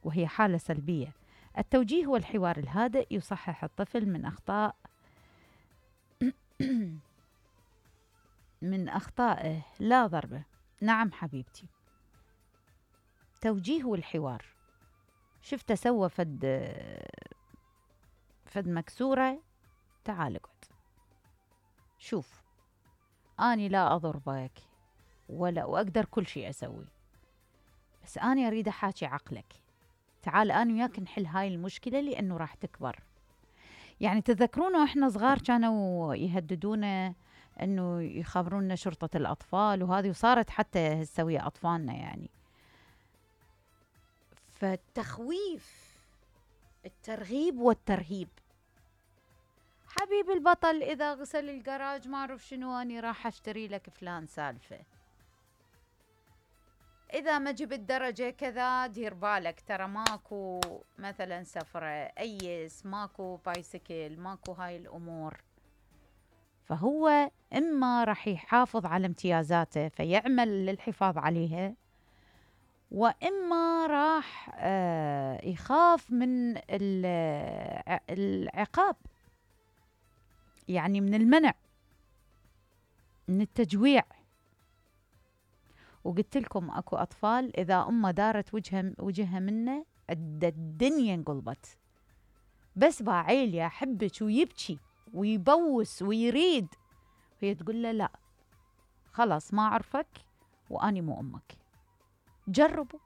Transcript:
وهي حالة سلبية. التوجيه والحوار الهادئ يصحح الطفل من أخطائه لا ضربه. نعم حبيبتي، توجيه والحوار. شفته سوى فد مكسورة، تعال اقعد، شوف أني لا أضربك وأقدر كل شيء أسوي، بس أنا أريد أحاكي عقلك، تعال أنا وياك نحل هاي المشكلة لأنه راح تكبر. يعني تذكرون وإحنا صغار كانوا يهددونا أنه يخبرونا شرطة الأطفال وهذه، وصارت حتى تسوي أطفالنا يعني. فالتخويف، الترغيب والترهيب. حبيب البطل إذا غسل الجراج ما أعرف شنو أني راح أشتري لك فلان سالفة، إذا ما جبت درجة كذا دير بالك ترى ماكو مثلا سفرة، أيس ماكو بايسكل، ماكو هاي الأمور. فهو إما راح يحافظ على امتيازاته فيعمل للحفاظ عليها، وإما راح يخاف من العقاب، يعني من المنع، من التجويع. وقلت لكم اكو اطفال اذا امه دارت وجهها منه الدنيا انقلبت، بس باعيل يا حبك ويبكي ويبوس ويريد، وهي تقول له لا خلاص ما اعرفك واني مو امك. جربوا